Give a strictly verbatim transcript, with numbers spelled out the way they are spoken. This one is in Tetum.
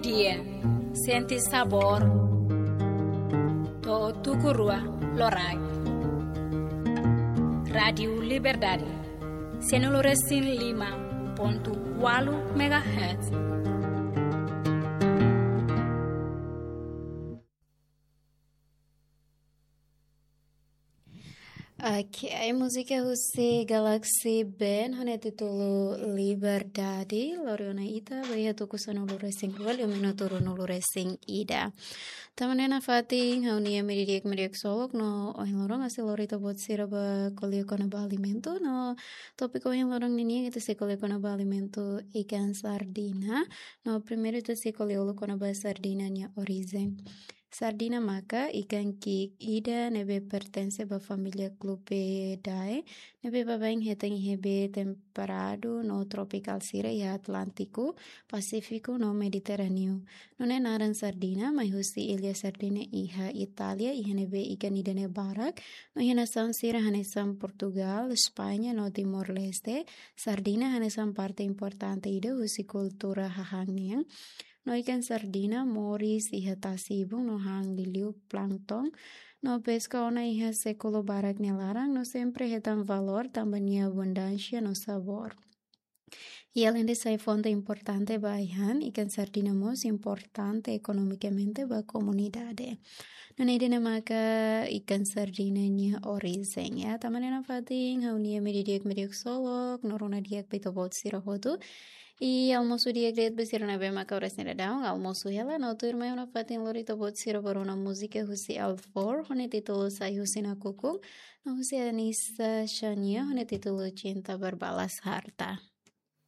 Dia, sente sabór. To'o tuku rua loraik. Rádiu Liberdade, sianulu resin lima pontu ualu megahertz. Ok, múzika husi Galaxy Band ho nia títulu Liberdade, lori ona ita ba iha tuku sanulu resin rua liu minutu ruanulu resin ida. Tanba ne'e nafatin ha'u-nia ema ida-idak mak haksolok no ohin loron ha'u sei lori ita-boot sira ba ko'alia kona-ba alimentu no tópiku ohin loron ninian ita sei ko'alia kona-ba alimentu ikan sardina. No primeiru ita sei ko'alia uluk kona-ba sardina nia orijen. Sardina maka ikan ki'ik ida ne'ebé pertense ba família Clupeidae, ne'ebé baibain hetan iha bee temperadu no tropikál sira iha Atlántiku, Pasífiku no Mediterráneu. Nune'e naran sardina mai husi illa Sardina iha Itália, iha ne'ebé ikan ida-ne'e barak, no iha nasaun sira hanesan Portugál, España no Timor-Leste, sardina hanesan parte importante ida husi kultura hahán nian. No ikan sardina moris iha tasi-ibun no han liuliu plankton. No peska ona iha sékulu barak nia laran no sempre hetan valór tanba nia abundánsia no sabór. I aleinde sai fonte importante ba ai-han, ikan sardina mós importante ekonomikamente ba komunidade. Nune'e ida-ne'e maka ikan sardina nia orijen, ya. Tanba ne'e nafatin ha'u-nia ema ida-idak mak haksolok, no rona di'ak ba ita-boot sira hotu. I almosu di'ak de'it ba sira ne'ebé maka oras ne'e daudaun almosu hela, no tuirmai ha'u nafatin lori ita-boot sira ba rona múzika husi Alvor, ho nia títulu Sai Husi Nakukun, no husi Anissa Xania, ho nia títulu Cinta Berbalas Harta.